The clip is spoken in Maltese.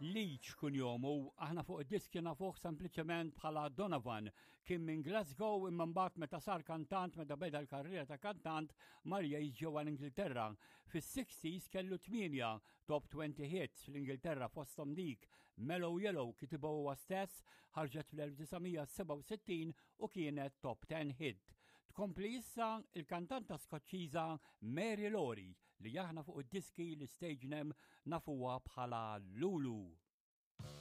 Leach kunjomu, aħna fuq id-diski nafuh sempliċement bħala Donovan. Kien minn Glasgow imma mbagħad meta sar kantant meta beda l-karriera ta' kantant mar jgħix ġewwa l-Ingilterra. Fis-60s kellu tmienja top 20 hits fl-Ingilterra fosthom dik Mellow Yellow kitibha huwa stess ħarġet fl-1967 u kienet top 10 hit. Tkompli issa il-kantanta Skoċċiża Mary Lowry li aħna fuq id-diski l-stage name nafuha bħala Lulu.